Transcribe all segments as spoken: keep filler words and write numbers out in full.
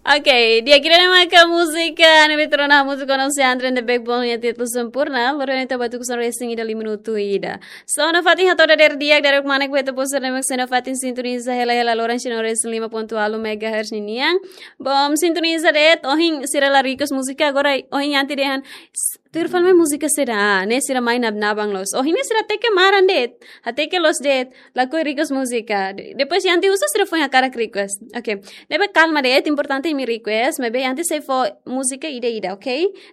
Ok, di'ak, ida-ne'e maka múzika ne'ebé ita rona hamutuk ho Sean Andre and the Backbone nia títulu Sempurna. Lori ona ita ba tuku sona resin ida lima minutu ida. So, nafatin hato'o dadeer di'ak, dadeer kmanek ba ita-boot sira ne'ebé sei nafatin sintoniza hela hela loron sino resin lima pontu ualu megahertz ninian. Bom, sintoniza de'it, ohin sira la request múzika, agora ohin Yanti dehan, s-, tuir fali mai múzika saida, ne'e sira mai nab-, naban loos. Ohin ne'e sira hateke maran de'it, hateke loos de'it, lakohi request múzika. De-, depois Yanti husu sira foin hakarak request. Ok. Ne'ebé kalma de'it, importante imi request, maibé Yanti sei fó múzika ida-ida, ok?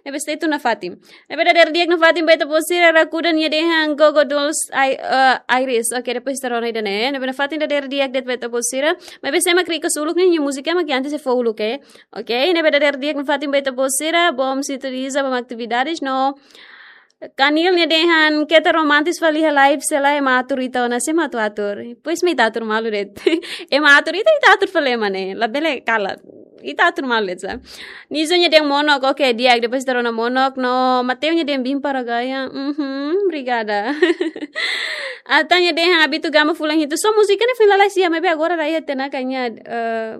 Ne'ebé stay tune nafatin. Ne'ebé dadeer di'ak nafatin ba ita-boot sira, Rakuda nia dehan Go Go Dolls, I-, eh, Iris. Ok, depois ita rona ida-ne'e. Ne'ebé nafatin dadeer di'ak de'it ba ita-boot sira. Maibé sé mak request uluk ne'e, nia múzika mak Yanti sei fó uluk, eh. Ok, ne'ebé dadeer di'ak nafatin ba ita-boot sira, bom sintoniza ba atividades no Kanil nia dehan keta romantis fali iha live se lae ema atur ita ona, sé mak atu atur. Pois mak ita atur malu de'it. Ema atur ita, ita atur fali ema ne'e. Labele kalat. Ita atur malu de'it sa. Nizo nia dehan Monok, ok, di'ak, depois ita rona Monok, no Mateo nia dehan Bimpa Ragaya. Mhm, obrigada. Atan nia dehan Abitu Gama fulan hitu. So múzika ne'e foin lalais iha, maibé agora rai iha tiha ona kayaknya, eh,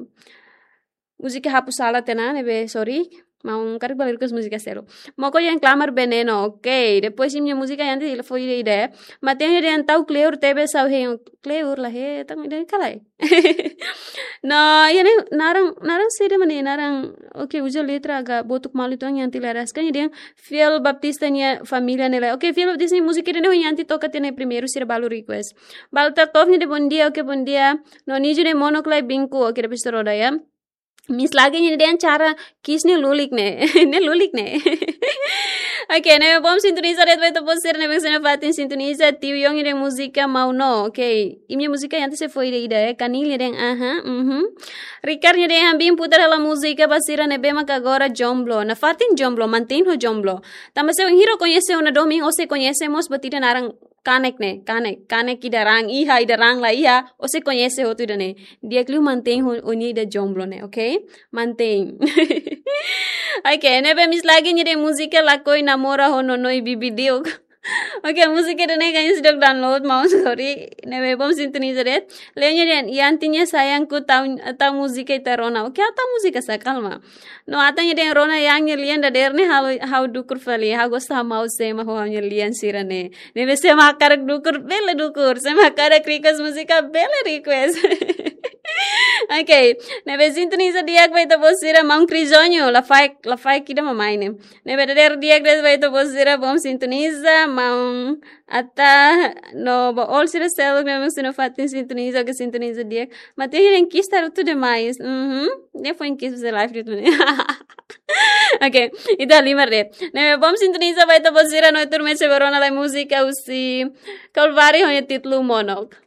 múzika hapus sala tiha ona, ne'ebé, sorry. Maun karik bele request múzika seluk. Moko yang Klamar Veneno, ok. Depois imi-nia múzika Yanti la fó ida-ida. Mateo nia dehan tau kleur tebes ha'u hein, kleur la hetan ida-ne'e ka lae. No, iha ne'e naran, naran saida mak ne'e, naran, ok, uza letra agak botuk malu uitoan Yanti la rasik. Nia dehan Fiel Baptista nia família ne'e lae. Ok, Fiel Baptista nia múzika ida-ne'e Yanti toka tiha ona primeiru sira balu request. Balta Kov nia dehan bom dia, ok, bom dia. No Nizo dehan Monok lae binku, ok, depois ita rona ya. Miss Lagi nia dehan Cara Kiss ne'e lulik ne'e. Ne'e lulik ne'e. Ok, ne'ebé bom sintoniza de'it ba ita-boot sira ne'ebé sei nafatin sintoniza, Tiu Yong nia dehan múzika Mau No. Ok, imi-nia múzika Yanti sei fó ida-ida, eh. Kanil nia dehan aha, mhm. Ricard nia dehan Bim putar hela múzika ba sira ne'ebé maka agora jomblo. Nafatin jomblo, mantein ho jomblo. Tanba se bainhira koñese ona domin, ó sei koñese mós buat ida naran kanek ne'e, kanek, kanek ida raan iha, ida raan la iha, ó sei koñese hotu ida-ne'e. Di'ak liu mantein ho, ho nia ida jomblo ne'e, ok? Mantein. Ok, ne'ebé Miss Lagi nia dehan múzika Lakohi Namora ho Nonoi Bibi Diuk. Ok, múzika ida-ne'e kayaknya seidauk download, maun, sorry. Ne'ebé bom sintoniza de'it. Leo nia dehan, Yanti nia Sayangku tau, tau múzika ita rona. Ok, tau múzika sá, kalma. No Atan nia dehan rona Yang nia lian dadeer ne'e halo ha'u dukur fali. Ha'u gosta hamaus ema ho ha'u-nia lian sira-ne'e. Ne'ebé sé mak hakarak dukur, bele dukur. Sé mak hakarak request múzika, bele request. Ok. Ne'ebé sintoniza di'ak ba ita-boot sira, maun Crisónio, lafaek, lafaek ida mak mai ne'e. Ne'ebé dadeer di'ak de'it ba ita-boot sira, bom sintoniza, maun Atan no ba all sira seluk ne'ebé sei nafatin sintoniza, ok, sintoniza di'ak. Mateus nia dehan kiss harutu demais. Mhm. Nia foin kiss ba sira live de'it ne'e. Ok, ita halimar de'it. Ne'ebé bom sintoniza ba ita-boot sira no ita ruma sei bá rona lai múzika husi Calvário ho nia títulu Monok.